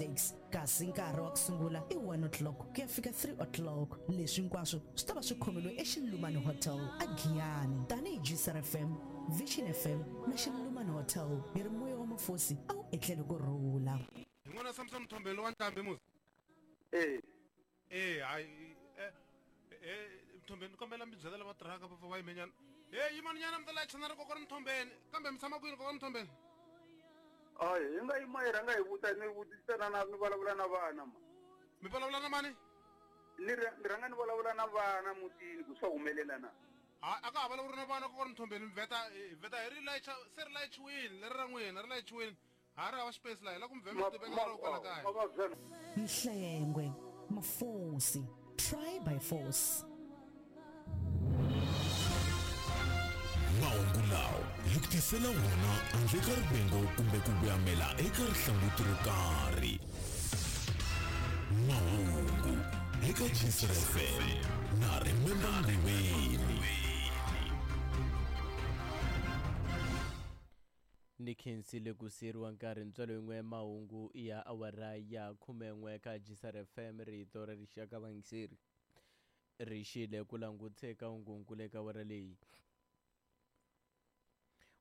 6 kasi nkarhi wa ku sungula i 1 o'clock ku ya fika 3 o'clock. Leswi hinkwaswo swi ta va swi khomeriwe eXilumani Hotel eGiyani. Tanihi Gcr FM, Vision FM na Xilumani Hotel hi ri moya wa mafosi a wu etlele ku rhula. Hi n'wana Samson Mthombeni lowa Ntlhambi musi. Eh. Eh, hayi eh eh Mthombeni kombela mi byela lava tirhaka va va yimenyana. Hey, yimani nyana mi ta layicha na ri kokwana Mthombeni. Kambe mi tshama kwini kokwana Mthombeni? Hayi, hi nga yima hi rhanga hi vuta ni vutisana na ni vulavula na vana ma. Mi vulavula na mani? Ni ni rhanga ni vulavula na vana mutini ku swa humelela na. Ha a ka ha vulavuri na vana kokwana Mthombeni mi vheta hi vheta hi ri layicha se ri layichiwini leri ra n'wina ri layichiwini. Ha ri hava xipesi laha hi la ku mi vhema mi tiveka ra kwala kaya. Mhlengwe, Mafosi, try by force. Mahungu lawa hi ku tisela wona handle ka rivengo kumbe ku voyamela eka rihlanguti ro karhi. Mahungu eka Jisr FM na Remember Ndiweni. Ni khensile ku siyeriwa nkarhi ntswalo yin'we mahungu ya awara ya khumen'we ka Jisar FM rito ra rixaka vayingiseri ri xile ku languteka hungunkulu eka awara leyi.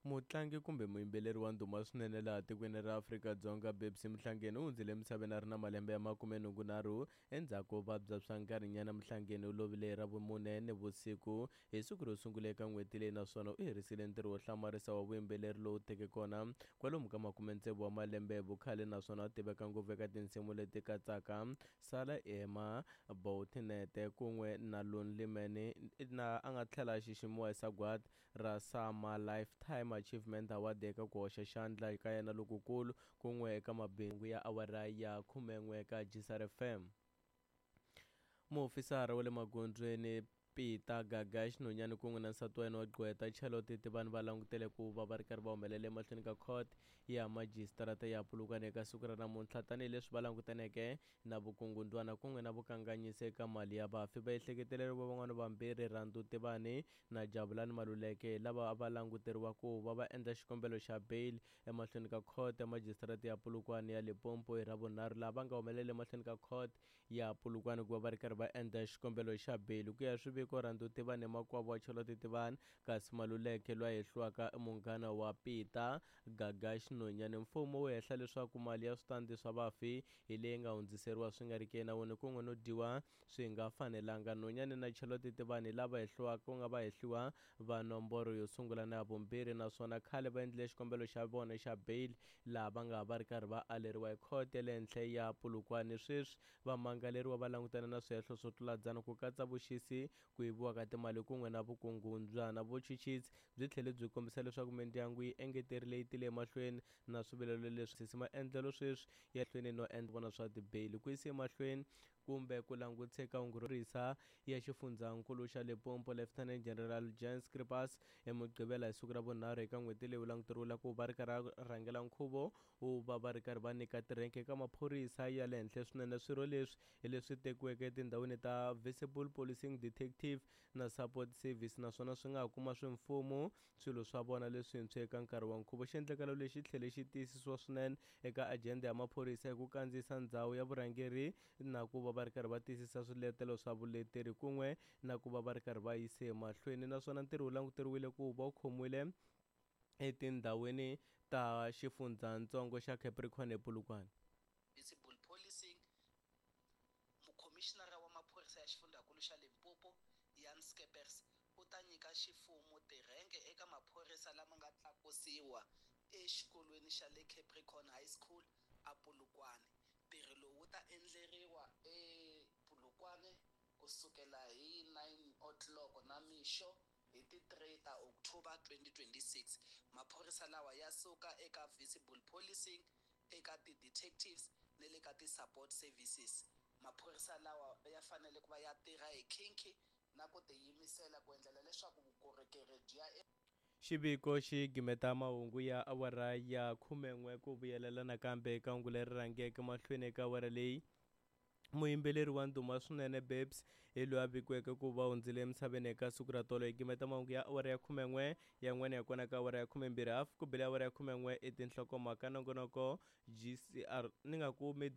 Mutlangi kumbe muyimbeleri wa ndhuma swinene laha tikweni ra Afrika-Dzonga Babsy Mhlangeni u hundzile emisaveni a ri na malembe ya makumenhungunharhu endzhaku ko vabya swa nkarhinyana. Mhlangeni u lovile hi Ravumune nivusiku hi siku ro sungula eka n'hweti leyi naswona u herisile ntirho wo hlamarisa wa vuyimbeleri lowu teke kona kwalomu ka makume-tsevu wa malembe hi vukhale naswona u tiveka ngopfu eka tinsimu leti katsaka Sala Ema, Boutinete kun'we na Lonely Man na a nga tlhela a xiximiwa hi sagwadi ra SAMA Lifetime Achievement Award eka ku hoxa xandla ka yena lokukulu kun'we eka mabindzu ya awara ya khumen'we eka Jisar FM. Muofisara wa le magondzweni Peter Gagash Nonyane kun'we na nsati wa yena wa gqweta Charlotte Tivani va langutele ku va va ri karhi va humelela emahlweni ka court ya majisitarata ya Polokwane eka siku ra namuntlha tanihileswi va langutaneke na vukungundwana kun'we na vukanganyisi eka mali ya vafi. Vaehleketeleriwa van'wana vambirhi Rhandu Tivani na Jabulani Maluleke hi lava a va languteriwa ku va va endla xikombelo xa bail emahlweni ka court ya majisitarata ya Polokwane ya Limpopo hi Ravunharhu laha va nga humelela emahlweni ka court ya Polokwane ku va va ri karhi va endla xikombelo xa bail. Ku ya hi swiviko, Rhandu Tivani i makwavo wa Charlotte Tivani kasi Maluleke loyi a hehliwaka i munghana wa Peter Gagash Nonyane. Mfumo wu hehla leswaku mali ya switandi swa vafi hi leyi nga hundziseriwa swi nga ri ki enawini kun'we no dyiwa swi nga fanelanga. Nonyane na Charlotte Tivani hi lava hehliwaka ku nga vahehliwa va nomboro yo sungula na ya vumbirhi naswona khale va endlile xikombelo xa vona xa bail laha va nga ha va ri karhi va aleriwa hi khoto ya le henhla ya Polokwane. Sweswi vamangaleriwa va langutana na swihehlo swo tlula dzana ku katsa vuxisi, ku yiviwa ka timali kun'we na vukungundzwana. Vuchuchisi byi tlhele byi kombisa leswaku mindyangu yi engeterile yi tile emahlweni na swivilelo leswi maendlelo sweswi ya hlweni no endla vona swa tibeyili ku yisa emahlweni kumbe ku langutisa eka hungu ro risa ya xifundzhankulu xa Limpopo Lieutenant General Jan Scripas eMugqivela hi siku ra vunharhu eka n'hweti leyi wu languteriwile ku va ri karhi a rhangela nkhuvo wo va va ri karhi va nyika tirhenke eka maphorisa ya le henhla swinene. Swirho leswi hi leswi tekiweke etindhawini ta Visible Policing Detective na Support Service naswona swi nga ha kuma swimfumo swilo swa vona leswintshwa eka nkarhi wa nkhuvo. Xiendlakalo lexi tlhele xi tiyisisiwa swinene eka ajenda ya maphorisa hi ku kandziyisa ndzhawu ya vurhangeri na ku va va ri karhi va tiyisisa swiletelo swa vuleteri kun'we na ku va va ri karhi va yise emahlweni naswona ntirho wu languteriwile ku va wu khomiwile etindhawini ta xifundzhantsongo xa Capricorn ePolokwane. Visible Policing, Mukhomixinara wa Maphorisa ya Xifundzankulu xa Limpopo, Jan Scheepers, u ta nyika ximfumo tirhenke eka maphorisa lama nga tlakusiwa exikolweni xa le Capricorn High School a Polokwane. Ntirho lowu wu ta endleriwa ePolokwane ku sukela hi 9 o'clock namixo hi ti 3 ta October 2026. Maphorisa lawa ya suka eka Visible Policing, eka ti-detectives ni le ka ti-support services. Maphorisa lawa ya fanele ku va ya tirha hi khinki na ku tiyimisela ku endlela leswaku vukorhokeri byi ya Xiviko xi gimeta mahungu ya awara ya khumen'we ku vuyelela nakambe eka hungu leri rhangeke mahlweni eka awara leyi. Muyimbeleri wa ndhuma swinene Babes hi loyi a vikiweke ku va hundzile emisaveni eka siku ra tolo. Hi gimeta mahungu ya awara ya khumen'we yan'wana ya kona ka awara ya khumembirhi hafu ku bile awara ya khumen'we i tinhlokomhaka nongonoko GCR ni nga ku mid.